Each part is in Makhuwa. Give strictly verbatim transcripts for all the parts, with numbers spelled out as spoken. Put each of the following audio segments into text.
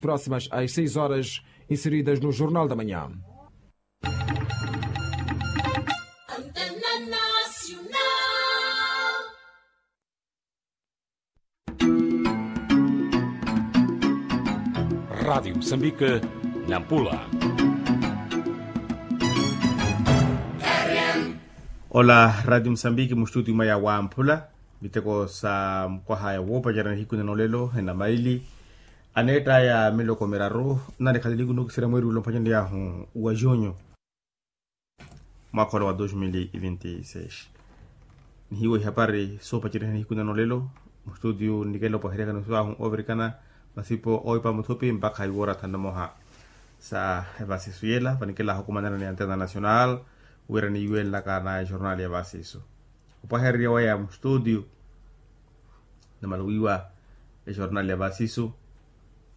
próximas às seis horas, inseridas no Jornal da Manhã. Rádio Moçambique, Nampula. Ola Rádio Moçambique, mustúdio maya wamphula miteko sa mukwaha ya woopacerya nihiku nano lelo ena maili. Aneettaya miloko miraru nani khaleliku nookisirya mweeri ula omphwanyaneyahu wa junho mwaakha ola wa dos mil e vinte e seis. Nihiwa ihapari soopacerya nihiku nano lelo. Mustúdio nnikela opaheryaka nisuwahu oovirikana masipo ooipa muthupi mpakha iwoora thanu na moha sa evasisu yela vanikelahu okumana ni antena nacional wira niiwenlaka na ejornal ya vasisu. Opahererya waya mustúdio namaluwiwa ejornal ya vasisu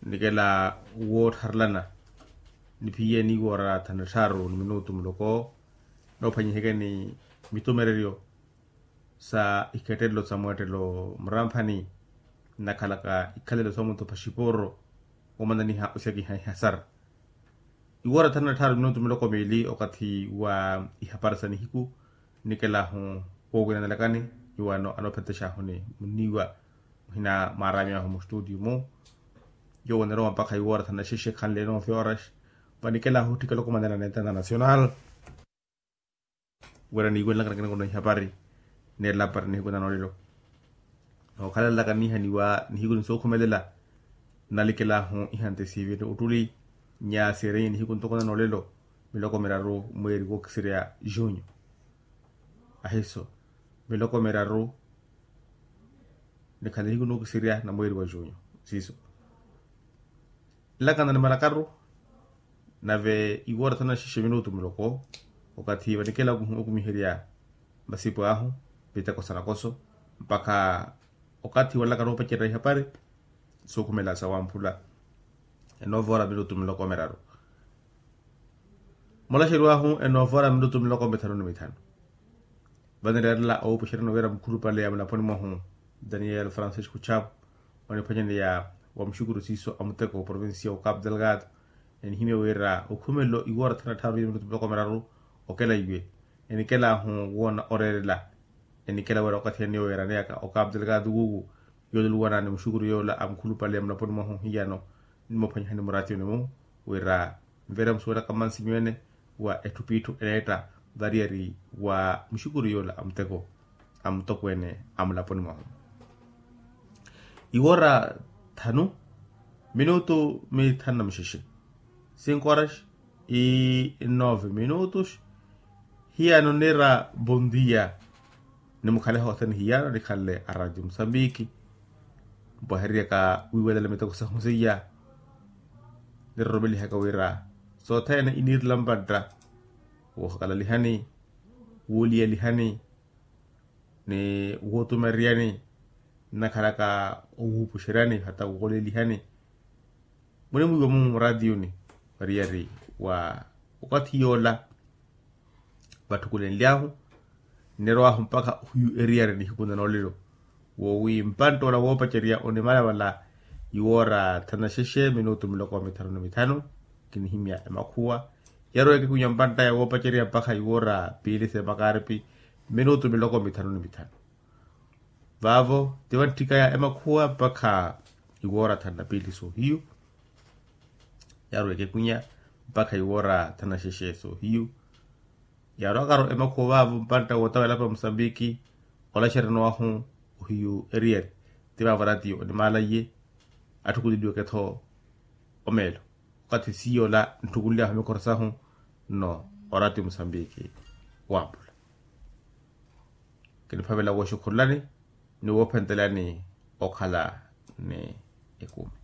nnikela woottharelana niphiye niiwoora thanu na tthaaru ni minutu muloko. Noophwanyiheke ni mitumereryo sa ikettelelo sa mweettelo muramphani nnakhalaka ikhalelo sa omunthu paxiporo omananiha oxakiha ihasara. Iwoora thanu na tthaaru minutu miloko miili okathi wa ihapari sa nihiku nnikelahu woowinanelakani. Iwano anoophettexahu ni munniiwa muhina mwaaraamiyahu mustúdio mu yoowo onirowa mpakha iwoora thanu na xexe khanle nove horas. Vanikelahu otthikela okumanela na entenda nacional wira niiwenlaka nakinakuna ihapari neerela apari nihiku nano lelo. Nookhalalaka niihaniwa nihiku ni sookhumelela nnalikelahu ihantesivini ottuli nyaasirye nihiku ntoko nano lelo miloko miraru mweeri wookisirya junho. Ahiso miloko miraru nikhala nihiku nookisirya na mweeri wa junho siiso. Nlakana ni malakaru nave iwoora thanu na xexe minutu muloko okathi vanikela okumiherya masipo ahu miteko sa nakoso mpakha okathi wanlakana oopacerya ihapari sookhumela sa wamphula. Enovoora minutu miloko miraru mulaxeriwahu enovoora minutu miloko mithanu ni mithanu. Vanireerela owuupuxeryani wira mukhulupale ya mulaponi mwahu daniel francisco chapo oniphwanyaneya wa muxukuru siiso a muteko provincia wa capo delgado enihimya wira okhumelo iwoora thanu na tthaaru minutu miloko miraru okela iwe enikelahu woona oreerela enikela wira okathi ene weeraneyaka o capo delgado wuwu yooluwana ni muxukuru yoola a mukhulupale ya mulaponi mwahu hiyano nimophwanyihani muraatiyoni-mu wira nvira musuwelaka mmansi miwene wa etthu p'itthu eneetta variyari wa muxukuru yoola a muteko a mutokweene a mulaponi mwahu. Iwoora thanu minutu mithanu na muxexe cinco horas e nove minutos. Hiyano niira bondia nimukhale hothene hiyano nikhanle a radio musambiki mpwahereryaka wiiwelela miteko sahu seiya niroromelihaka wira sothene iniirela mpantta woohakalalihani wooliyalihani ni wootumereryani nnakhalaka owuupuxeryani hata woolelihani munimwiiwa mumu muratiyuni variyari wa okathi yoola vatthukulenly'ahu nnirowahu mpakha ohiyu eriyari nihiku na noolelo woowi mpantta ola woopacerya onimalavala iwoora thanu na xexe minutu miloko mithanu ni mithanu kinihimya emakhuwa yarowa ekekunya mpantt'aya woopacerya mpakha iwoora piili s'emakaripi minutu miloko mithanu ni mithanu vaavo ti vantthikaya emakhuwa mpakha iwoora thanu na piili soohiyu yarowa ekekunya mpakha iwoora thanu na xexe soohiyu yaarowakaro emakhuwa vaavo mpantta wootawela apa musambiki olaxeryanwahu ohiyu eriyari ti vaavo ratio onimaalaiye atthukuleliweke-tho omeelo okathi siiyo ola ntthukunly'ahu mikhoro sahu nno orati musambiki waampula kiniphavela wooxukhululani ni woophentelani okhala ni ekumi